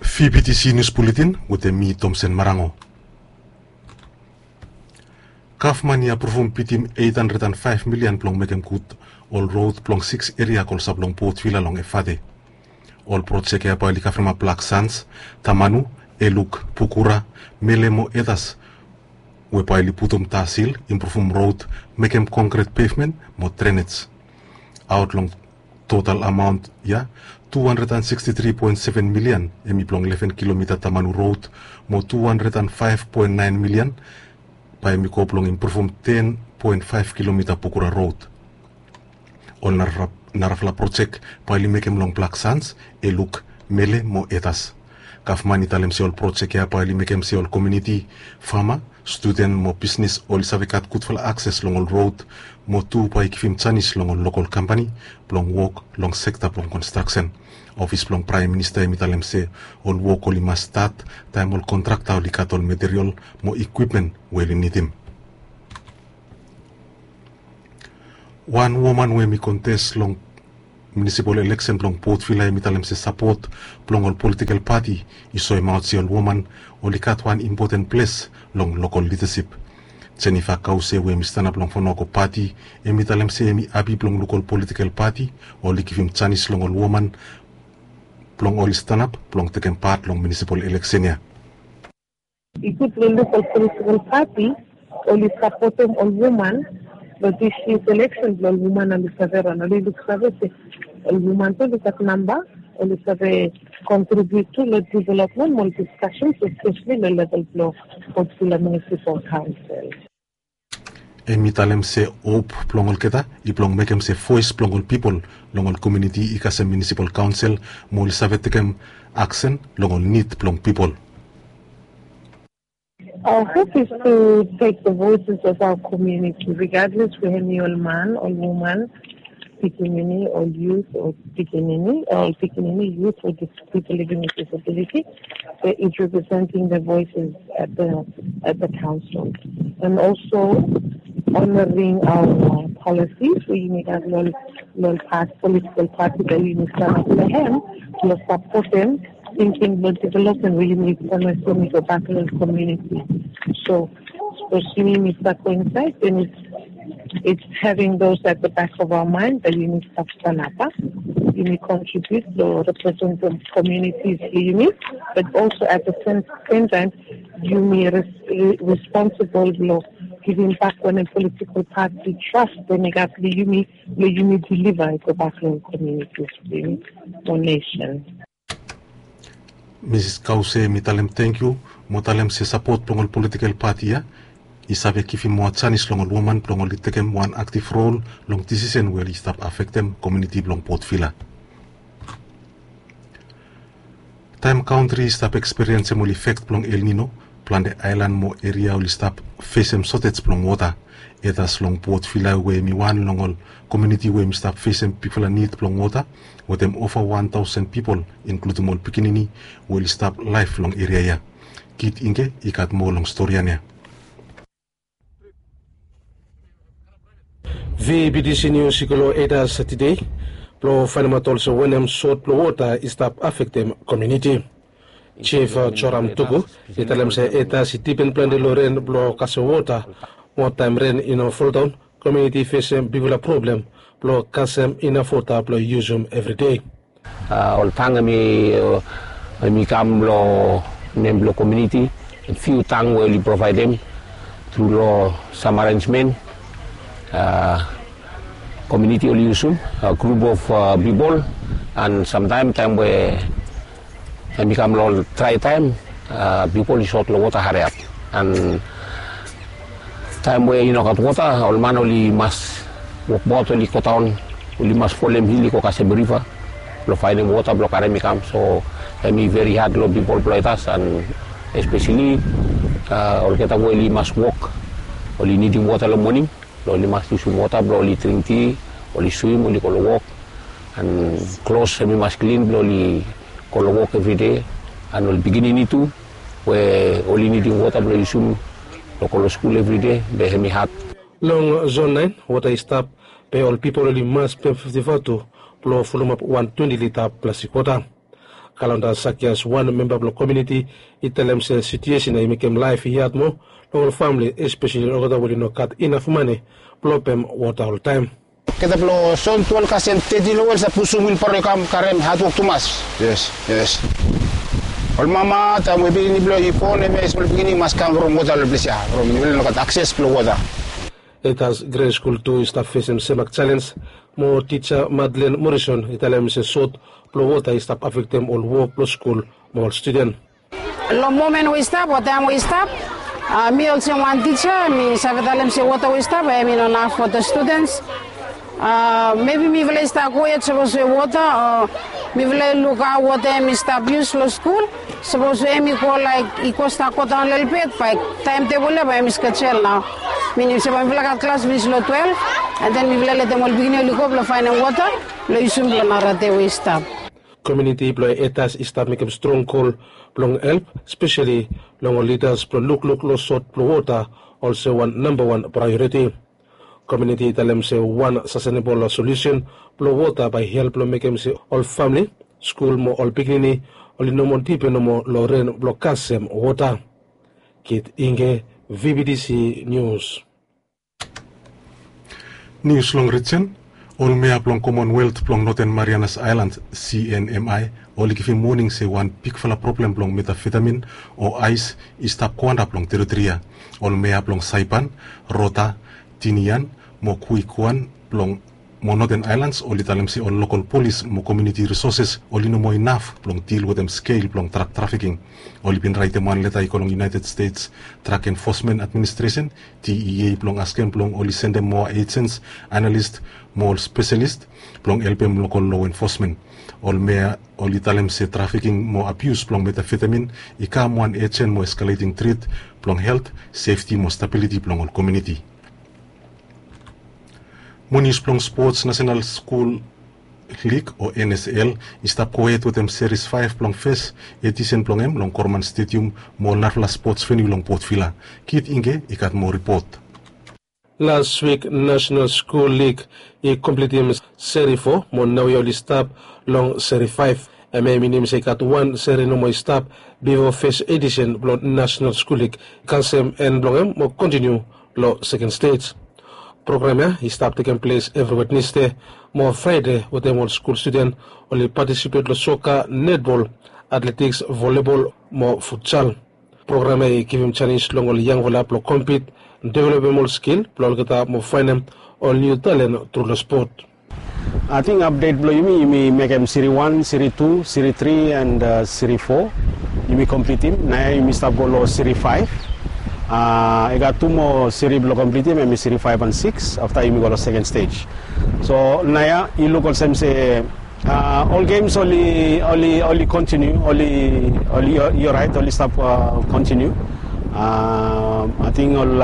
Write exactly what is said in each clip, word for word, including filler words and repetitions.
Fibitisi nius buletin wetem mi Tomsen Marango. Gavman i apruvum bitim eit handred and faef milian blong mekem gud ol rod blong siks eria kolsap long Port Vila long Efate. Ol projek ya bae oli kavremap Blak Sans, Tamanu, Eluk, Pukura, Mele mo Etas, we bae oli putum tar sil, impruvum rod, mekem konkret pevmen mo drenej. Aot long total amaon ya, tu handred and siksti tri poen seven milian hemi blong leven kilomita Tamanu rod, mo tu handred and faef poen naen milian bae hemi go blong impruvum ten poen faef kilomita Pukura rod. Ol narafala projek bae oli mekem long Blak Sans, Eluk, Mele mo Etas. Gavman i talem se ol projek ya bae oli mekem se ol komuniti, fama, studen mo bisnes oli save gat gudfala akses long ol rod, mo tu bae i givim janis long ol lokol kampani blong wok long sekta blong konstraksen. Ofis blong Praem Minista hemi talem se ol wok oli mas stat taem ol kontrakta oli gat ol materiol mo ikwipmen we oli nidim. Wan woman we hemi kontes long munisipol eleksen blong Port Vila hemi talem se sapot blong ol politikel pati i soemaot se ol woman oli gat wan impoten ples long lokol lidasip. Jennifer Kause we hemi stanap long Fanako pati hemi talem se hemi hapi blong luk ol politikel pati oli givim janis long ol woman blong oli stanap blong tekem pat long munisipol eleksen ya. I gud long luk ol politikal pati oli sapotem ol woman long dis yia eleksen blong ol woman oli save ran. Oli luksave se ol woman tu oli gat namba oli save kontribiut tu long developmen mo ol diskasen, espeseli long level blong Port Vila Municipal Council. Hemi talem se hop blong olgeta i blong mekem se voes blong ol pipol long ol komuniti i kasem munisipal kaonsel mo oli save tekem aksen long ol nid blong pipol. Our hope is to take the voices of our community, regardless we hemi ol man, ol woman, pikinini, ol youth, ol pikinini, ol pikinini, youth, or dis- people living with disability, they is representing the voices at the at the council, and also honoring our policies. We need a lot, lot past political party that we need to have the hand to support them, thinking about development we need to go back to the community. So, especially Mister Coincide, then it's it's having those at the back of our mind that you need to stand up, you need contribute to represent the communities you need, but also at the same, same time, you need res- re- responsible for giving back when a political party trust, then you got the you need, the you need deliver go back to communities, you need donation. Misis Kause hemi talem tangkiu mo talem se sapot blong ol politikel pati ya i save givim moa janis long ol woman blong oli tekem wan aktiv rol long disisen we oli stap afektem komuniti blong Port Vila. Taem kantri i stap ekspiriensem ol ifek blong El Nino, plante aelan mo eria oli stap fesem sotej blong wota. Etas long Port Vila we hemi wan long ol komuniti we hemi stap fesem bigfala nid blong wota, wetem ova wan taosen pipol, inkludem ol pikinini we oli stap laef long eria ya. Kit Ingke i gat moa long storian ya. Vibitisi Nius i go long Etas tede blong faenemaot olsem wanem sot blong wota i stap afektem komuniti. Jif Joram Tuku i talem se Etas i dipen plante long ren blong kasem wota. Mo taem ren i no foldaon, komuniti i fesem bigfala problem blong kasem inaf wota blong yusum evri dei. A, ol tang hemi, hemi kam long nem blong komuniti, fiu tang we oli provaedem tru long sam arenjmen. A, komuniti oli yusum, a, grup of, a, pipol, an samtaem, taem we hemi kam long ol drae taem, a, pipol i sot long wota hariap. An taem we i no gat wota, ol man oli mas wokbaot, oli godaon, oli mas folem hil i go kasem riva blong faenem wota blong karem i kam. So hemi veri had long pipol blong Etas, an espeseli, a, olgeta we oli mas wok, oli nidim wota long moning blong oli mas yusum wota blong oli dring ti, oli swim, oli go long wok. An klos hemi mas klin blong oli go long wok evride. An ol pikinini tu we oli nidim wota blong yusum blong go long skul evride, be hemi had. Long zon naen wota i stap, be ol pipol oli mas pem fifti vatu blong fulumap wan twenti lita plastik wota. Kalonda Sakias, wan memba blong komuniti, i talem se situesen ya i mekem laef i had moa long ol famili, espeseli olgeta we oli no gat inaf mane blong pem wota oltaem. Olgeta blong son tu ol kasem teti long ol sa pusum wilbaro i kam karem hadwok tumas. Yes, yes. Ol mama taem we pikinini blong i bon, hemia i smol pikinini i mas kam from wota long ples ya, from i no gat akses blong wota. Etas Gre Skul tu i stap fesem semak jalenj, mo tija Madlen Morrison i talem se sot blong wota i stap afektem ol wok blong skul mo ol studen. Long momen we i stap o taem we i stap, mi olsem wan tija mi save talem se wota we i stap hemi no naf fo ol studens. Mebi mifala i stap go yet sapos we wota o mifala i luk hao wota hemi stap yus long skul. Sapos we hemi go laek i go stap godaon lelebet bae taemtebol ya bae hemi skejel nao. Minim se bae mifala gat klas finis long twelef, an den mifala letem ol pikinini oli go blong faenem wota blong yusum long nara dei we i stap. Komuniti blong Etas i stap mekem strong gol blong help, speseli long ol lidas blong lukluk long sot blong wota olsem wan nambawan praeoriti. Komuniti i talem se wan sastenebol solusen blong wota bae i help long mekem se ol famili, skul mo ol pikinini oli no moa dipen nomo long ren blong kasem wota. Kit Inge, V B T C Nius. Nius long rijen. Ol mea blong Commonwealth blong Northern Marianas Aelan, C N M I, oli givim woning se wan bigfala problem blong metafetamin o ais i stap go antap long teritori ya. Ol mea blong Saipan, Rota, Tinian mo Kuikuan blong mo Northern Aelan oli talem se ol lokol polis mo komuniti risoses oli no moa inaf blong dil wetem skel blong drak trafiking. Oli bin raetem wan leta i go long United States Drug Enforcement Administration, D E A, blong askem blong oli sendem moa ejens, analis mo ol speselis blong helpem lokol lo enfosmen. Ol mea oli talem se trafiking mo abius blong metafetamin i kam wan ejen mo eskaleting tret blong helt, sefti mo stabiliti blong ol komuniti. Mo nius blong spots, Nasenal Skul Lig o N S L i stap gohed wetem seris faef blong fes edisen blong hem long Korman Stedium mo ol narafala spots veniu long Port Vila. Kit Inge i gat moa ripot. Las wik Nasenal Skul Lig i komplitim seri fo mo naoia oli stap long seri faef. Hemia i minim se i gat wan seri nomo i stap bifo fes edisen blong Nasenal Skul Lig i kasem en blong hem mo kontiniu long seken stej. Program ya i stap tekem ples evri Wednesde mo Fraede wetem ol skul studen oli patisipet long soka, netbol, atletiks, volebol mo futsal. Program ya i givim janis long ol yangfala blong kompit, developem ol skil blong olgeta mo faenem ol niu talen tru long spot. Ating apdet blong yumi, yumi mekem siri wan, siri tu, siri tri, and siri fo. Yumi komplitim, naoia yumi stap go long siri faef. I gat tu moa siri blong komplitim, hemi siri faef and sikis. Afta yumi go long seken stej. So naoia i luk olsem se ol gems oli, oli, oli kontiniu, oli, oli, i oraet, oli stap kontiniu. Ating ol,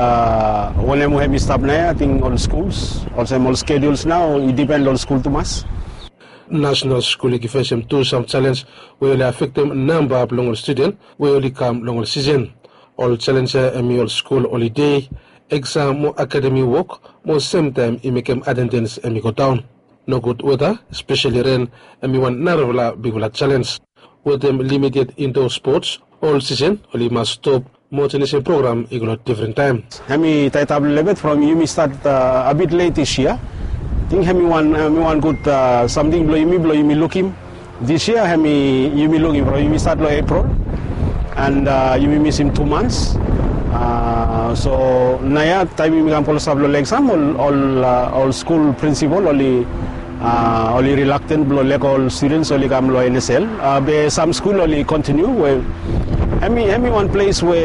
wanem we hemi stap naoia, ating ol skuls, olsem ol skeduls nao i dipen long ol skul tumas. Nasenal Skul Lig i fesem tu sam jalenj we oli afektem namba blong ol studen we oli kam long ol sisen. Ol jalenj ya hemi ol skul olide, eksam mo akademi wok, mo semtaem i mekem atendens hemi godaon. Nogud weta, espeseli ren, hemi wan narafala bigfala jalenj. Wetem limited indo spots, ol sisen oli mas stop mo jenisim program i go long difren taem. Hemi taetap lelebet from yumi stat a bit let dis yia. Ating hemi wan, hemi wan gud samting blong yumi, blong yumi lukim. Dis yia hemi yumi lukim from yumi stat long Epril, and yumi misim tu mans. So naoia taem yumi kam klosap long eksam, ol, ol, ol skul prinsipol oli, oli rilakten blong lego ol studens oli kam long N S L. Be sam skul oli kontiniu we hemi, hemi wan ples we,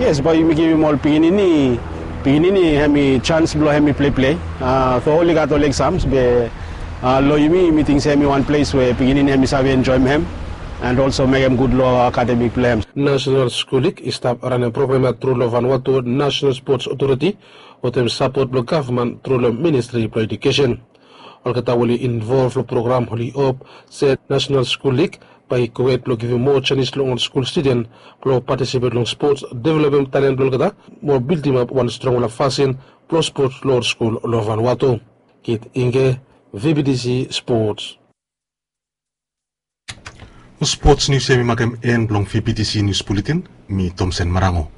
yes, bae yumi givim ol pikinini, pikinini hemi jans blong hemi pleplei. So oli gat ol eksams be long yumi, yumi ting se hemi wan ples we pikinini hemi save enjoem hem, and olso mekem gud long akademik blong hem. Nasenal Skul Lig i stap ranem program ya tru long Vanuatu Nasenal Spots Otoriti wetem sapot blong gavman tru long Ministri blong Ejukesen. Olgeta we oli involv long program oli hop se Nasenal Skul Lig bae i gohed blong givim moa janis long ol skul studen blong patisipet long spots, developem talen blong olgeta, mo bildimap wan strongfala fasin blong spots long ol skul long Vanuatu. Kit Inge, V B T C Spots. Spots nius ya mi makem en blong vptc nius buletin. Mi tomsen marango.